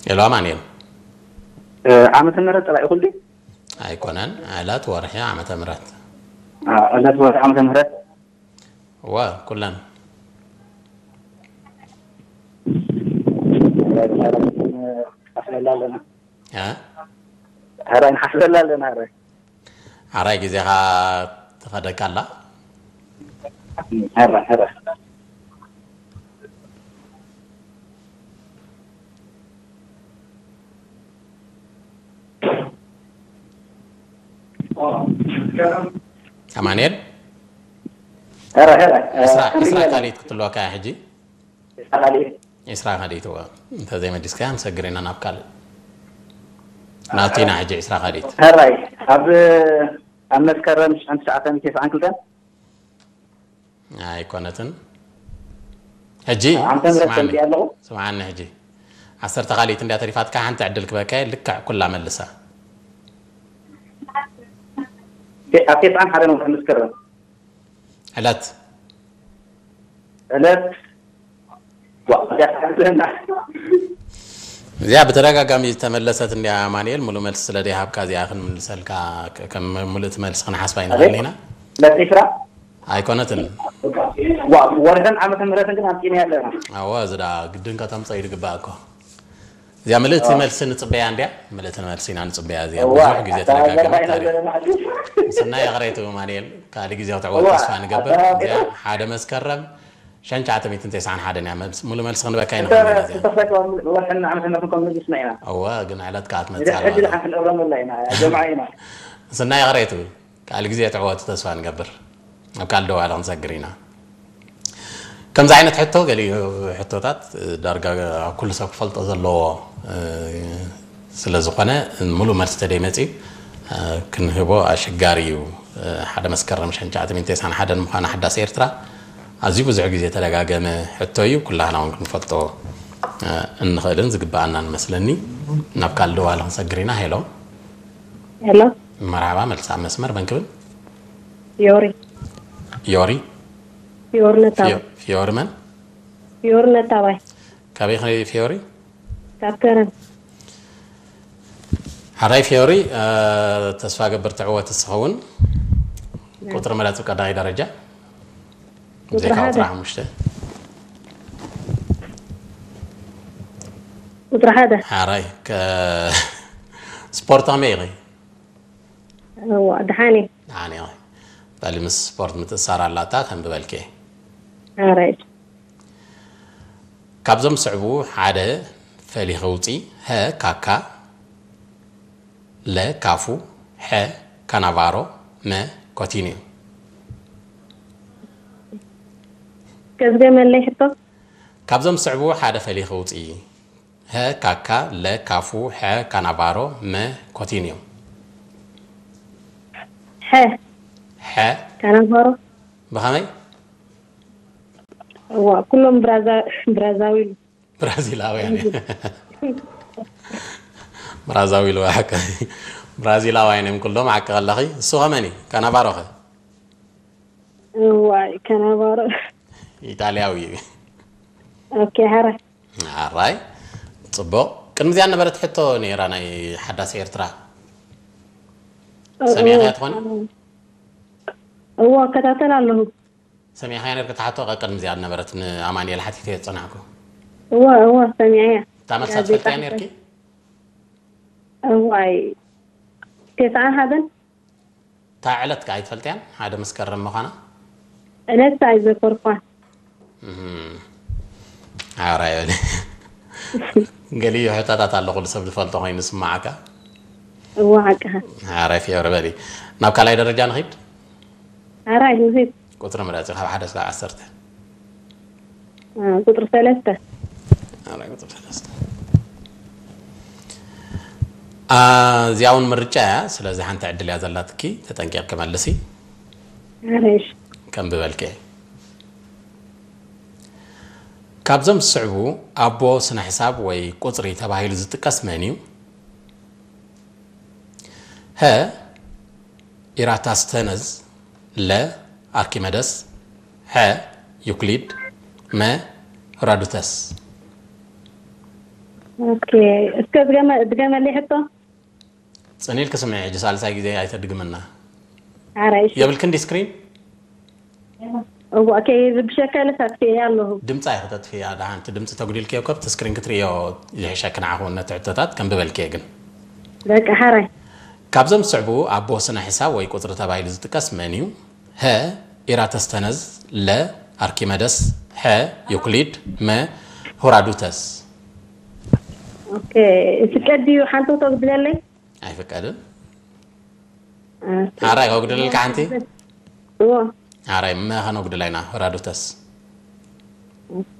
ሄሎ ኣማኑኤል። እ፣ ዓመተ ምህረት ጥራይ ይኹል ድዩ? ኣይኮነን፣ ዕለት፣ ወርሒ፣ ዓመተ ምህረት። አ፣ ዕለት፣ ወርሒ፣ ዓመተ ምህረት። እወ፣ ኩለን። ሕራይ ንሓስበላ ኣለና። እ? ሕራይ ንሓስበላ ኣለና፣ ሕራይ። ሕራይ ግዜኻ ትኸደካ ኣላ። ሕራይ፣ ሕራይ። ኣማኑኤል? ሕራይ፣ ሕራይ። ዒስራ፣ ዒስራ ካልኢት ክትልወካ እያ ሕጂ። ዒስራ ካልኢት። ዒስራ ካልኢት፣ እወ። እንተዘይመሊስካያ ንሰግር ኢና ናብ ካልእ። ናቱ ኢና ሕጂ ዒስራ ካልኢት። ሕራይ፣ ኣብ፣ ኣብ መስከረም ሽሕን ትሽዓተ ሚእትን ተስዓን ክልተን? ኣይኮነትን። ሕጂ ዓመተ ምህረት ስምዓኒ። ሰምዕያ ኣለኹ። ስምዓኒ ሕጂ። ዓሰርተ ካልኢት እንድያ ተሪፋትካ፣ ሓንቲ ዕድል ክበካ እየ፣ ልክዕ ኩላ መልሳ። ተ-፣ ኣብ ተስዓን ሓደን ወርሒ መስከረም። ዕለት። ዕለት። ዋ፣ እዚኣ ትሓስበና። እዚኣ ብተደጋጋሚ ዝተመለሰት እንድያ ኣማኑኤል፣ ሙሉእ መልሲ ስለ ዘይሃብካ እዚኣ ክንምልሰልካ፣ ከ-፣ ከም ሙሉእ እቲ መልሲ ክንሓስባ ኣቤት? ኣይንኽእልን ኢና። ዕለት ዒስራ? ኣይኮነትን። ዋ፣ ወርሕን ዓመተ ምህረትን ግን ኣምፂእና ኣለና። ኣዋ፣ እዚ ደኣ ግድን ከተምፀ እዩ ዝግባእ እኮ። እዚኣ ምልእቲ ኣዋ። መልሲ ንፅበያ እንድያ፣ ምልእቲ መልሲ ኢና ንፅበያ እዚኣ። እዋ፣ ብዙሕ ግዜ ኣታ ተደጋገመት ገርማ ኢና ታሪኽ። ዘለና ሕጂ። ስናይ ይቕሬቱ ኣማኑኤል፣ ካልእ ግዜ ክትዕወት እዋ፣ ተስፋ ንገብር። ኣታ እዚኣ ሓደ መስከረም ሽሕን ትሽዓተ ሚእትን ተስዓን ሓደን እያ። መልስ-፣ ሙሉእ መልሲ ክንበካ እንተ-፣ ኣይንኽእልን ኢና እዚኣ። እንተኽፈትዋ ወርሕና ዓመተ ምህረትን ከም መሊስና ኢና። እወ፣ ግን ዕለት ከኣ ትመጽእ ድሕሪ ኣላ ሕጂ እዛ። ደሓን ክንእረም ወላ ኢና። ጀምዓ ኢና። ስናይ ይቕሬቱ። ካልእ ግዜ ትዕወቱ ተስፋ ንገብር። ኣብ ካልእ ደዋለ ክንሰግር ኢና። ከምዚ ዓይነት ሕቶ፣ ገሊኡ ሕቶታት ዳርጋ ኣብ ኩሉ ሰብ ክፈልጦ ዘለዎ፣ እ፣ ስለ ዝኾነ፣ ሙሉእ መልሲ ተደይመጽዩ፣ እ፣ ክንህቦ ኣሸጋሪ እዩ። እ፣ ሓደ መስከረም ሽሕን ትሽዓተ ሚእትን ተስዓን ሓደን ምዃና ሓዳስ ኤርትራ ኣዝዩ ብዙሕ ግዜ ተደጋገመ ሕቶ እዩ። ኩላህና እውን ክንፈልጦ፣ እ፣ እንኽእልን ዝግብኣናን መስለኒ። ናብ ካልእ ደዋለ ክንሰግር ኢና። ሄሎ። ሄሎ። መርሓባ፣ መልሲ ኣብ መስመር፣ መን ክብል? ፊዮሪ። ዮሪ? ፊዮሪ ነታባይ። ፊዮ-፣ ፊዮሪ መን? ፊዮሪ ነታባይ። ካበይ ኢኺ ፊዮሪ? ካብ ከረን። ሓራይ ፊዮሪ፣ እ፣ ተስፋ ገብር ትዕወት እስኻ እውን። ቁጽሪ ምረጽ ቀዳማይ ደረጃ። ቁጽሪ ብዘይካ ሓደ። ቁጽሪ ሓሙሽተ። ቁጽሪ ሓደ። ሓራይ፣ ከ-፣ ስፖርት ከመይ ኢኺ? እዋ፣ ደሓን እየ። ደሓን እየ። በሊ ምስ ስፖርት ምትእስሳር ኣላታ፣ ከንብበልኪ እየ። ሓራይ። ካብዞም ዝስዕቡ ሓደ ፈሊኺ ውፂ። ሀ፣ ካካ፣ ለ፣ ካፉ፣ ሐ፣ ካናቫሮ፣ መ፣ ኮቲኒዮ። ከዝገመለይ ሕቶ? ካብዞም ዝስዕቡ ሓደ ፈሊኺ ውፂ። ሀ፣ ካካ፣ ለ፣ ካፉ፣ ሐ፣ ካናቫሮ፣ መ፣ ኮቲኒዮ። ሐ። ሐ። ካናቫሮ። ብኸመይ? እዋ፣ ኩሎም ብራዛ-፣ ብራዛዊል። ብራዚላውያን እዮም። ብራዛዊል ወይ ሓቂ። ብራዚላውያን እዮም ኩሎም፣ ሓቂ ከለኺ። እሱ ኸመን እዩ? ካናቫሮ ኸ? እዋይ፣ ካናቫሮ። ኢጣልያዊ እዩ። ኦኬ፣ ሓራይ። ሓራይ። ጽቡቕ። ቅድሚ እዚኣ ነበረት ሕቶ ነይራ ናይ ሓዳስ ኤርትራ። እ-፣ ሰሚዕካያ ትኾኒ? እዋ፣ እከታተል ኣለኹ። ሰሚዕካያ ነርኪ? እታ ሕቶ ቀ-፣ ቅድሚ እዚኣ ነበረት ንኣማኑኤል ሓቲተዮ ዝጸናሕኩ። እዋ፣ እዋ፣ ሰሚዐያ። እታ መልሳ ጋዜጣ ትፈልጥያ ነርኪ? እዋይ፣ ተስዓን ሓደን? እታ ዕለት ከ ኣይትፈልጥያን? ሓደ መስከረም ምዃና? ዕለት ኣይዘከርኳን። እም። ሓራይ በሊ። ገሊኡ ሕቶታት ኣሎ፣ ኩሉ ሰብ ዝፈልጦ ኮይኑ ዝስምዓካ። እዋ፣ ሓቅኻ። ሓራይ ፊዮሪ በሊ። ናብ ካልኣይ ደረጃ ንኺድ? ሓራይ ንኺድ። ቁጽሪ ምረጺ ካብ ሓደ እስካብ ዓሰርተ። አ፣ ቁጽሪ ሰለስተ። ኣራይ ቁጽሪ ሰለስተ። አ፣ እዚኣ እውን ምርጫ እያ። ስለዚ ሓንቲ ዕድል እያ ዘላትኪ። ተጠንቂቕኪ መልሲ። ኣራይ፣ እሺ። ከንብበልኪ እየ። ካብዞም ዝስዕቡ ኣቦ ስነ ሕሳብ ወይ ቁጽሪ ተባሂሉ ዝጥቀስ መን እዩ? ሀ፣ ኢራታስተነዝ፣ ለ፣ ኣርኪመደስ፣ ሐ፣ ዩክሊድ፣ መ፣ ሄሮዶተስ። ኦኬ፣ እስከ ድገመ- ድገመለይ ሕቶ። ጽን ኢልኪ ስምዒ፣ ሕጂ ሳልሳይ ግዜ ኣይተድግምና። ሓራይ፣ እሺ። የብልክን ዲ ስክሪን? እዋ፣ ከይርብሸካ ኢለ ኣጥፊኤያ ኣለኹ። ድምጻ ኢኺ ተጥፍያ። ደሓን እቲ ድምጺ ተጉዲልክዮ እኮ ኣብቲ ስክሪን ክትርእዮ ይሕሸኪ። ንዓኹ ነቲ ሕቶታት ከንብበልክየ ግን። በቃ፣ ሓራይ። ካብዞም ዝስዕቡ ኣቦ ስነ ሕሳብ ወይ ቁጽሪ ተባሂሉ ዝጥቀስ መን እዩ? ሀ፣ ኢራተስተነዝ፣ ለ፣ ኣርኪመደስ፣ ሐ፣ ዩክሊድ፣ መ፣ ሆራዱተስ። ኦኬ፣ ይፍቀድ ድዩ ሓንቲ ክተጉድለለይ? ኣይፍቀድን። ኦኬ። ሓራይ ከጉድለልካ ሓንቲ? እዎ። ሓራይ መ ከነጉድላ ኢና፣ ሆራዱተስ። ኦኬ።